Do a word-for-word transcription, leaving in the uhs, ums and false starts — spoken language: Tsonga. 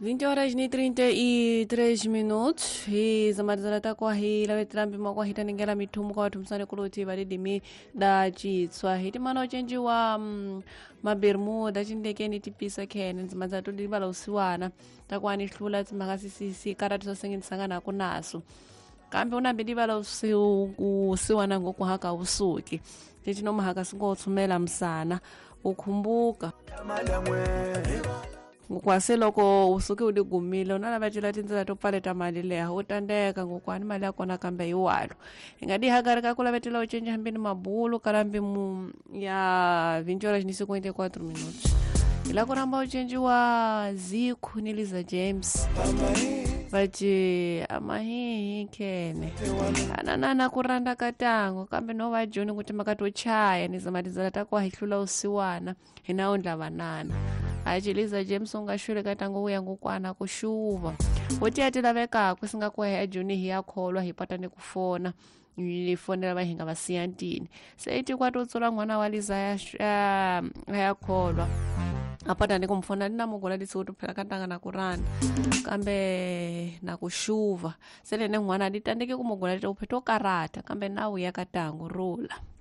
vinte horas e trinta e três minutos hi zamalizana takwa hi lavetela mpimo kwa hitanengela mithumu kwa wathumisani kuluti validimi da citswa hi timana ucenjiwa mm, mabermuda cindekeni tipisa khene ndzima dzatu livala usiwana takwani hlula tsimhaka sisisi karati swasengenisanganaku naso kambe unambe livala usiwana ngoku haka usuki tecinomahaka singothumela msana ukhumbuka ngokwase loko usuke u ligumile u na lava cela tindlela to pfaleta mali leha u tandeka ngokwani mali ya kona kambe hi walo hi nga dihakari ka ku lavetela u cinca hambeni mabulu kala mbimu ya vinte horas ni cinquenta e quatro minutos hi la ku rhamba u cinciwa Ziku ni Liza James vaci amahihi khene ananana ku rhandza ka tango kambe no va joni ku timhaka to chaya ni zama tindlela ta ku hi hlula usiwana hi na wundla vanana aci Liza James u nga xule ka tango wu ya ngokwana ku xuva wo tiya ti lavekaku si nga ku ya joni hi ya kholwa hi pata ni ku fona ni fonela va hi nga va siya ntini se i tikwa to tsula n'wana wa Liza ya ya kholwa apata ni kumfona ni na mugola lisiku tuphela ka ntanga na ku rhandza kambe na ku xuva se lene n'wana ni tandeke ku mugola leti uphe to karata kambe na wu ya ka tango rula.